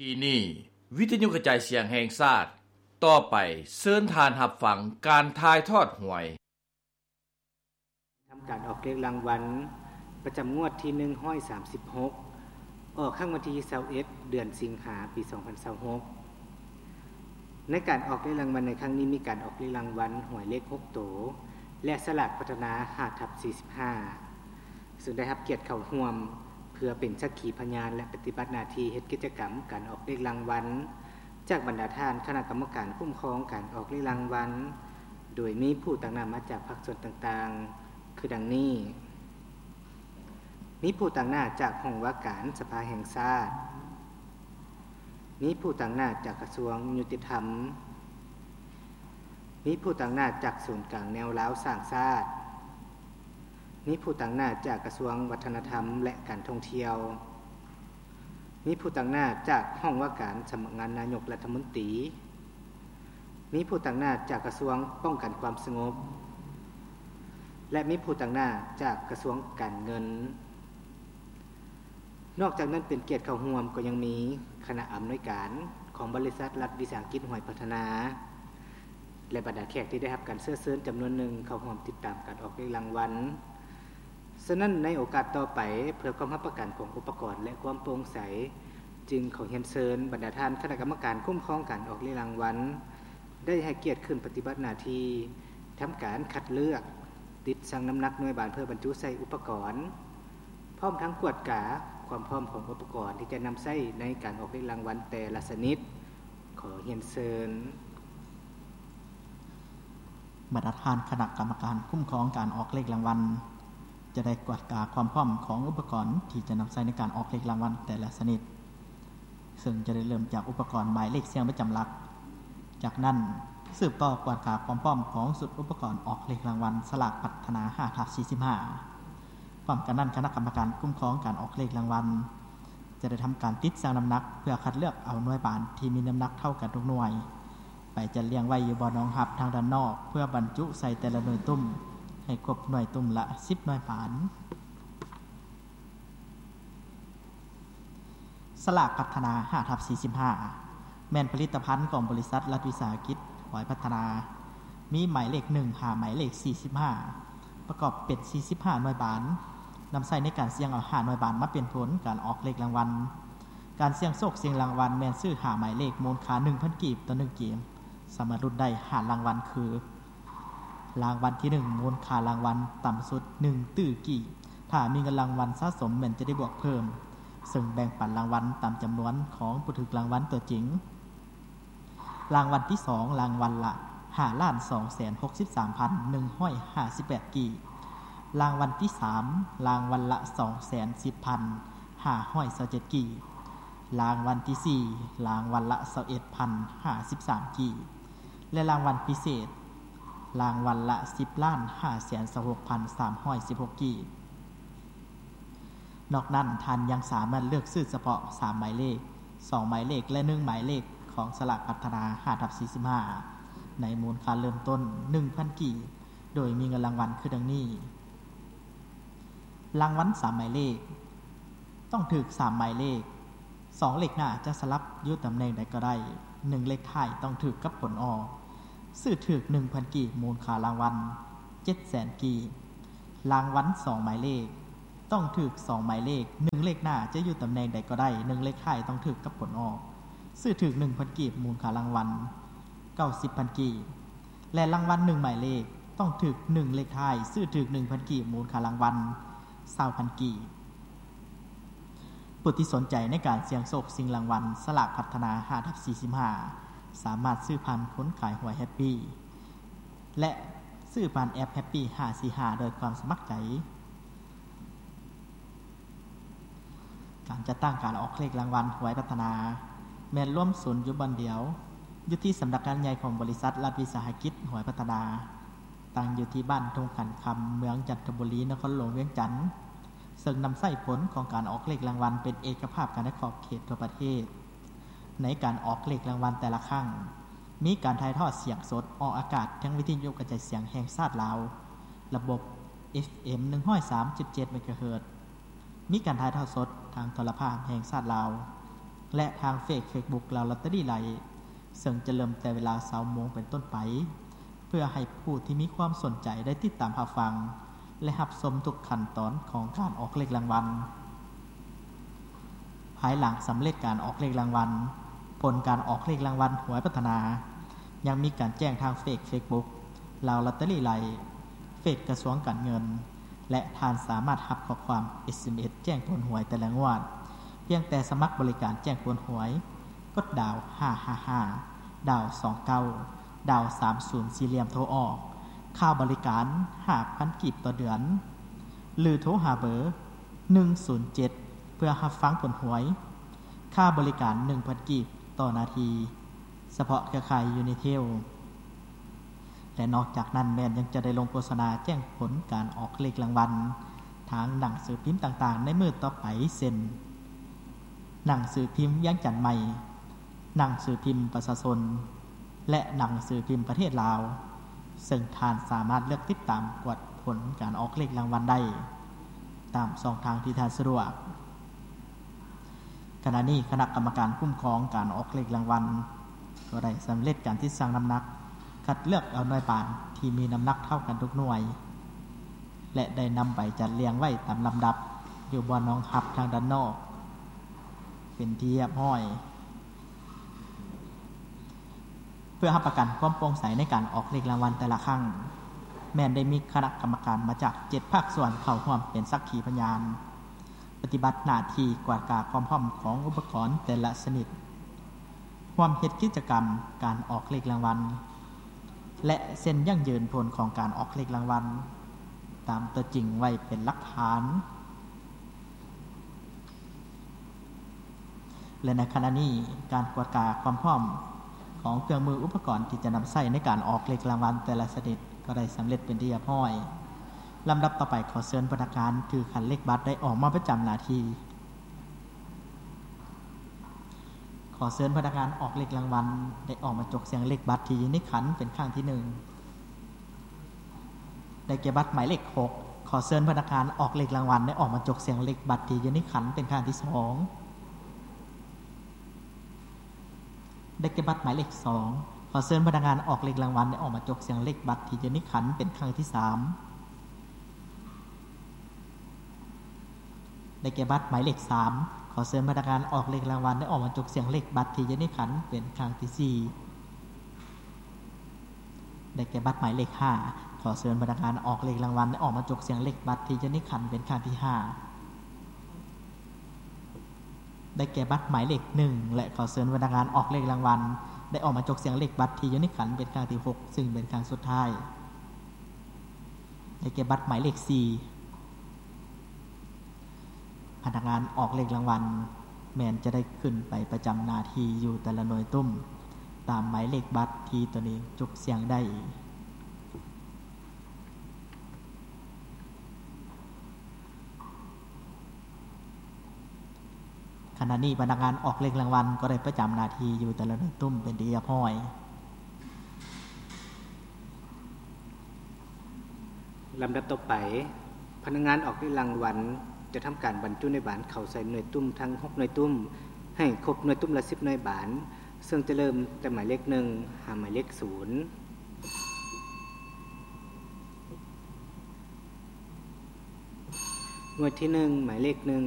ທີ່ນີ້ ວິທະຍຸກະຈາຍສຽງແຫ່ງຊາດ, ຕໍ່ໄປເຊີນທ່ານຮັບຟັງການຖ່າຍທອດຫວຍ. ທຳການອອກເລກລາງວັນປະຈຳງວດທີໜຶ່ງຮ້ອຍສາມສິບຫົກ ອອກຄັ້ງວັນທີຊາວເອັດ ເດືອນສິງຫາ ປີສອງພັນຊາວຫົກ. ໃນການອອກເລກລາງວັນໃນຄັ້ງນີ້ ມີການອອກເລກລາງວັນຫວຍເລກຫົກໂຕ ແລະ ສະຫຼາກພັດທະນາ ຫ້າທັບສີ່ສິບຫ້າ ເຊິ່ງໄດ້ຮັບກຽດເຂົ້າຮ່ວມ ເພື່ອເປັນສັກຂີພະຍານ ແລະ ປະຕິບັດໜ້າທີ່ເຮັດກິດຈະກຳການອອກເລກລາງວັນ ຈາກບັນດາທ່ານຄະນະກຳມະການຄຸ້ມຄອງການອອກເລກລາງວັນ, ໂດຍມີຜູ້ຕາງໜ້າມາຈາກພາກສ່ວນຕ່າງໆ ຄືດັ່ງນີ້: ມີຜູ້ຕາງໜ້າຈາກຫ້ອງວ່າການສະພາແຫ່ງຊາດ, ມີຜູ້ຕາງໜ້າຈາກກະຊວງຍຸຕິທຳ, ມີຜູ້ຕາງໜ້າຈາກສູນກາງແນວລາວສ້າງຊາດ, ມີຜູ້ຕາງໜ້າຈາກກະຊວງວັດທະນະທຳ ແລະ ການທ່ອງທ່ຽວ, ມີຜູ້ຕາງໜ້າຈາກຫ້ອງວ່າການສຳນັກງານນາຍົກລັດຖະມົນຕີ, ມີຜູ້ຕາງໜ້າຈາກກະຊວງປ້ອງກັນຄວາມສະຫງົບ ແລະ ມີຜູ້ຕາງໜ້າຈາກກະຊວງການເງິນ. ນອກຈາກນັ້ນ ເປັນກຽດເຂົ້າຮ່ວມກໍຍັງມີຄະນະອຳນວຍການຂອງບໍລິສັດລັດວິສາຫະກິດຫວຍພັດທະນາ ແລະ ບັນດາແຂກທີ່ໄດ້ຮັບການເຊື້ອເຊີນຈຳນວນໜຶ່ງເຂົ້າຮ່ວມຕິດຕາມການອອກເລກລາງວັນ. ສະນັ້ນ ໃນໂອກາດຕໍ່ໄປ ເພື່ອຄວາມຮັບປະກັນຂອງອຸປະກອນ ແລະ ຄວາມໂປ່ງໃສ, ຈຶ່ງຂໍຮຽນເຊີນບັນດາທ່ານຄະນະກຳມະການຄຸ້ມຄອງການອອກເລກລາງວັນ ໄດ້ໃຫ້ກຽດຂຶ້ນປະຕິບັດໜ້າທີ່ທຳການຄັດເລືອກ, ຕິດຊັ່ງນ້ຳໜັກໜ່ວຍບານເພື່ອບັນຈຸໃສ່ອຸປະກອນ, ພ້ອມທັງກວດກາຄວາມພ້ອມຂອງອຸປະກອນທີ່ຈະນຳໃຊ້ໃນການອອກເລກລາງວັນແຕ່ລະຊະນິດ. ຂໍຮຽນເຊີນ. ບັນດາທ່ານຄະນະກຳມະການຄຸ້ມຄອງການອອກເລກລາງວັນ ຈະໄດ້ກວດກາຄວາມພ້ອມຂອງອຸປະກອນທີ່ຈະນຳໃຊ້ໃນການອອກເລກລາງວັນແຕ່ລະຊະນິດ, ເຊິ່ງຈະໄດ້ເລີ່ມຈາກອຸປະກອນໝາຍເລກສ່ຽງປະຈຳຫຼັກ. ຈາກນັ້ນ ສືບຕໍ່ກວດກາຄວາມພ້ອມຂອງຊຸດອຸປະກອນອອກເລກລາງວັນສະຫຼາກພັດທະນາ ຫ້າທັບສີ່ສິບຫ້າ. ພ້ອມກັນນັ້ນ ຄະນະກຳມະການຄຸ້ມຄອງການອອກເລກລາງວັນ ຈະໄດ້ທຳການຕິດຊັ່ງນ້ຳໜັກ ເພື່ອຄັດເລືອກເອົາໜ່ວຍບານທີ່ມີນ້ຳໜັກເທົ່າກັນທຸກໜ່ວຍ ໄປຈັດລຽງໄວ້ຢູ່ບ່ອນຮອງຮັບທາງດ້ານນອກ ເພື່ອບັນຈຸໃສ່ແຕ່ລະໜ່ວຍຕຸ້ມ ໃຫ້ຄົບໜ່ວຍຕຸ້ມລະສິບໜ່ວຍບານ. ສະຫຼາກພັດທະນາ ຫ້າທັບສີ່ສິບຫ້າ ແມ່ນຜະລິດຕະພັນຂອງບໍລິສັດລັດວິສາຫະກິດຫວຍພັດທະນາ, ມີໝາຍເລກໜຶ່ງຫາໝາຍເລກສີ່ສິບຫ້າ ປະກອບເປັນສີ່ສິບຫ້າໜ່ວຍບານ, ນຳໃຊ້ໃນການສ່ຽງເອົາຫ້າໜ່ວຍບານມາເປັນຜົນການອອກເລກລາງວັນ. ການສ່ຽງໂຊກຊິງລາງວັນແມ່ນຊື້ຫ້າໝາຍເລກ ມູນຄ່າໜຶ່ງພັນກີບຕໍ່ໜຶ່ງເກມ, ສາມາດລຸ້ນໄດ້ຫ້າລາງວັນຄື: ລາງວັນທີໜຶ່ງ ມູນຄ່າລາງວັນຕ່ຳສຸດໜຶ່ງຕື້ກີບ, ຖ້າມີເງິນລາງວັນສະສົມແມ່ນຈະໄດ້ບວກເພີ່ມ, ເຊິ່ງແບ່ງປັນລາງວັນຕາມຈຳນວນຂອງຜູ້ຖືກລາງວັນຕົວຈິງ. ລາງວັນທີສອງ ລາງວັນລະຫ້າລ້ານສອງແສນຫົກສິບສາມພັນໜຶ່ງຮ້ອຍຫ້າສິບແປດກີບ, ລາງວັນທີສາມ ລາງວັນລະສອງແສນສິບພັນຫ້າຮ້ອຍຊາວເຈັດກີບ, ລາງວັນທີສີ່ ລາງວັນລະຊາວເອັດພັນຫ້າສິບສາມກີບ ແລະ ລາງວັນພິເສດ ລາງວັນລະສິບລ້ານຫ້າແສນຊາວຫົກພັນສາມຮ້ອຍສິບຫົກກີບ. ນອກນັ້ນ ທ່ານຍັງສາມາດເລືອກຊື້ສະເພາະສາມໝາຍເລກ, ສອງໝາຍເລກ ແລະ ໜຶ່ງໝາຍເລກຂອງສະຫຼາກພັດທະນາ ຫ້າທັບສີ່ສິບຫ້າ ໃນມູນຄ່າເລີ່ມຕົ້ນໜຶ່ງພັນກີບ, ໂດຍມີເງິນລາງວັນຄືດັ່ງນີ້: ລາງວັນສາມໝາຍເລກ ຕ້ອງຖືກສາມໝາຍເລກ, ສອງເລກໜ້າຈະສະຫຼັບຢູ່ຕຳແໜ່ງໃດກໍໄດ້, ໜຶ່ງເລກທ້າຍຕ້ອງຖືກກັບຜົນອອກ, ຊື້ຖືກໜຶ່ງພັນກີບ, ມູນຄ່າລາງວັນເຈັດແສນກີບ. ລາງວັນສອງໝາຍເລກ ຕ້ອງຖືກສອງໝາຍເລກ, ໜຶ່ງເລກໜ້າຈະຢູ່ຕຳແໜ່ງໃດກໍໄດ້, ໜຶ່ງເລກທ້າຍຕ້ອງຖືກກັບຜົນອອກ, ຊື້ຖືກໜຶ່ງພັນກີບ, ມູນຄ່າລາງວັນເກົ້າສິບພັນກີບ. ແລະ ລາງວັນໜຶ່ງໝາຍເລກ ຕ້ອງຖືກໜຶ່ງເລກທ້າຍ, ຊື້ຖືກໜຶ່ງພັນກີບ, ມູນຄ່າລາງວັນຊາວພັນກີບ. ຜູ້ທີ່ສົນໃຈໃນການສ່ຽງໂຊກຊິງລາງວັນສະຫຼາກພັດທະນາ ຫ້າທັບສີ່ສິບຫ້າ ສາມາດຊື້ຜ່ານຄົນຂາຍຫວຍແຮັບປີ ແລະ ຊື້ຜ່ານແອັບແຮັບປີຫ້າສີ່ຫ້າ ໂດຍຄວາມສະໝັກໃຈ. ການຈັດຕັ້ງການອອກເລກລາງວັນຫວຍພັດທະນາ ແມ່ນລວມສູນຢູ່ບ່ອນດຽວ ຢູ່ທີ່ສຳນັກງານໃຫຍ່ຂອງບໍລິສັດລັດວິສາຫະກິດຫວຍພັດທະນາ, ຕັ້ງຢູ່ທີ່ບ້ານທົ່ງຂັນຄຳ ເມືອງຈັນທະບູລີ ນະຄອນຫຼວງວຽງຈັນ, ເຊິ່ງນຳໃຊ້ຜົນຂອງການອອກເລກລາງວັນເປັນເອກະພາບກັນໃນຂອບເຂດທົ່ວປະເທດ. ໃນການອອກເລກລາງວັນແຕ່ລະຄັ້ງ ມີການຖ່າຍທອດສຽງສົດອອກອາກາດທາງວິທະຍຸກະຈາຍສຽງແຫ່ງຊາດລາວ ລະບົບ ເອັຟເອັມ ໜຶ່ງຮ້ອຍສາມຈຸດເຈັດ ເມກາເຮີດ, ມີການຖ່າຍທອດສົດທາງໂທລະພາບແຫ່ງຊາດລາວ, ແລະ ທາງເຟສ ເຟສບຸກ ລາວລອດເຕີຣີໄລ ເຊິ່ງຈະເລີ່ມແຕ່ເວລາຊາວໂມງເປັນຕົ້ນໄປ ເພື່ອໃຫ້ຜູ້ທີ່ມີຄວາມສົນໃຈໄດ້ຕິດຕາມຮັບຟັງ ແລະ ຮັບຊົມທຸກຂັ້ນຕອນຂອງການອອກເລກລາງວັນ. ພາຍຫຼັງສຳເລັດການອອກເລກລາງວັນ, ຜົນການອອກເລກລາງວັນຫວຍພັດທະນາ ຍັງມີການແຈ້ງທາງເຟສ ເຟສບຸກ ລາວລອດເຕີຣີໄລ, ເຟສກະຊວງການເງິນ ແລະ ທ່ານສາມາດຮັບຂໍ້ຄວາມ ເອສເອັມເອສ ແຈ້ງຜົນຫວຍແຕ່ລະງວດ ພຽງແຕ່ສະໝັກບໍລິການແຈ້ງຜົນຫວຍ, ກົດດາວຫ້າຫ້າຫ້າ ດາວສອງເກົ້າ ດາວສາມສູນສີ່ຫຼ່ຽມໂທອອກ, ຄ່າບໍລິການຫ້າພັນກີບຕໍ່ເດືອນ ຫຼືໂທຫາເບີໜຶ່ງສູນເຈັດ ເພື່ອຮັບຟັງຜົນຫວຍ, ຄ່າບໍລິການໜຶ່ງພັນກີບຕໍ່ນາທີ ສະເພາະເຄືອຂ່າຍ Unitel. ແລະ ນອກຈາກນັ້ນແມ່ນຍັງຈະໄດ້ລົງໂຄສະນາແຈ້ງຜົນການອອກເລກລາງວັນ ທາງໜັງສືພິມຕ່າງໆໃນມື້ຕໍ່ໄປ ເຊັ່ນ ໜັງສືພິມວຽງຈັນໃໝ່, ໜັງສືພິມປະຊາຊົນ ແລະ ໜັງສືພິມປະເທດລາວ, ເຊິ່ງທ່ານສາມາດເລືອກຕິດຕາມກວດຜົນການອອກເລກລາງວັນໄດ້ຕາມຊ່ອງທາງທີ່ທ່ານສະດວກ. ຂະນະນີ້ຄະນະກຳມະການຄຸ້ມຄອງການອອກເລກລາງວັນ ກໍໄດ້ສຳເລັດການຕິດຊັ່ງນ້ຳໜັກ ຄັດເລືອກເອົາໜ່ວຍບານທີ່ມີນ້ຳໜັກເທົ່າກັນທຸກໜ່ວຍ ແລະ ໄດ້ນຳໄປຈັດລຽງໄວ້ຕາມລຳດັບຢູ່ບ່ອນຮອງຮັບທາງດ້ານນອກເປັນທີ່ຮຽບຮ້ອຍ. ເພື່ອຮັບປະກັນຄວາມໂປ່ງໃສໃນການອອກເລກລາງວັນແຕ່ລະຄັ້ງ, ແມ່ນໄດ້ມີຄະນະກຳມະການມາຈາກເຈັດພາກສ່ວນເຂົ້າຮ່ວມເປັນສັກຂີພະຍານ, ປະຕິບັດໜ້າທີ່ກວດກາຄວາມພ້ອມຂອງອຸປະກອນແຕ່ລະຊະນິດ, ຮ່ວມເຮັດກິດຈະກຳການອອກເລກລາງວັນ ແລະ ເຊັນຢັ້ງຢືນຜົນຂອງການອອກເລກລາງວັນຕາມຕົວຈິງໄວ້ເປັນຫຼັກຖານ. ແລະ ໃນຂະນະນີ້ ການກວດກາຄວາມພ້ອມຂອງເຄື່ອງມືອຸປະກອນທີ່ຈະນຳໃຊ້ໃນການອອກເລກລາງວັນແຕ່ລະຊະນິດກໍໄດ້ສຳເລັດເປັນທີ່ຮຽບຮ້ອຍ. ລຳດັບຕໍ່ໄປ ຂໍເຊີນພະນັກງານຖືຂັນເລກບັດໄດ້ອອກມາປະຈຳໜ້າທີ່. ຂໍເຊີນພະນັກງານອອກເລກລາງວັນໄດ້ອອກມາຈົກສ່ຽງເລກບັດທີ່ຢູ່ໃນຂັນເປັນຄັ້ງທີໜຶ່ງ. ໄດ້ແກ່ບັດໝາຍເລກຫົກ. ຂໍເຊີນພະນັກງານອອກເລກລາງວັນໄດ້ອອກມາຈົກສ່ຽງເລກບັດທີ່ຢູ່ໃນຂັນເປັນຄັ້ງທີສອງ. ໄດ້ແກ່ບັດໝາຍເລກສອງ. ຂໍເຊີນພະນັກງານອອກເລກລາງວັນໄດ້ອອກມາຈົກສ່ຽງເລກບັດທີ່ຢູ່ໃນຂັນເປັນຄັ້ງທີສາມ. ໄດ້ແກ່ບັດໝາຍເລກສາມ. ຂໍເຊີນພະນັກງານອອກເລກລາງວັນໄດ້ອອກມາຈົກສ່ຽງເລກບັດທີ່ຢູ່ໃນຂັນເປັນຄັ້ງທີສີ່. ໄດ້ແກ່ບັດໝາຍເລກຫ້າ. ຂໍເຊີນພະນັກງານອອກເລກລາງວັນໄດ້ອອກມາຈົກສ່ຽງເລກບັດທີ່ຢູ່ໃນຂັນເປັນຄັ້ງທີຫ້າ. ໄດ້ແກ່ບັດໝາຍເລກໜຶ່ງ ແລະ ຂໍເຊີນພະນັກງານອອກເລກລາງວັນໄດ້ອອກມາຈົກສ່ຽງເລກບັດທີ່ຢູ່ໃນຂັນເປັນຄັ້ງທີຫົກ ຊຶ່ງເປັນຄັ້ງສຸດທ້າຍ. ໄດ້ແກ່ບັດໝາຍເລກສີ່. ພະນັກງານອອກເລກລາງວັນແມ່ນຈະໄດ້ຂຶ້ນໄປປະຈຳໜ້າທີ່ຢູ່ແຕ່ລະໜ່ວຍຕຸ້ມ ຕາມໝາຍເລກບັດທີ່ຕົນເອງຈົກສ່ຽງໄດ້. ຂະນະນີ້ພະນັກງານອອກເລກລາງວັນກໍໄດ້ປະຈຳໜ້າທີ່ຢູ່ແຕ່ລະໜ່ວຍຕຸ້ມເປັນທີ່ຮຽບຮ້ອຍ. ລຳດັບຕໍ່ໄປ, ພະນັກງານອອກເລກລາງວັນຈະທຳການບັນຈຸໜ່ວຍບານເຂົ້າໃສ່ໜ່ວຍຕຸ້ມທັງຫົກໜ່ວຍຕຸ້ມ ໃຫ້ຄົບໜ່ວຍຕຸ້ມລະສິບໜ່ວຍບານ, ເຊິ່ງຈະເລີ່ມແຕ່ໝາຍເລກໜຶ່ງຫາໝາຍເລກສູນ. ໜ່ວຍທີໜຶ່ງ ໝາຍເລກໜຶ່ງ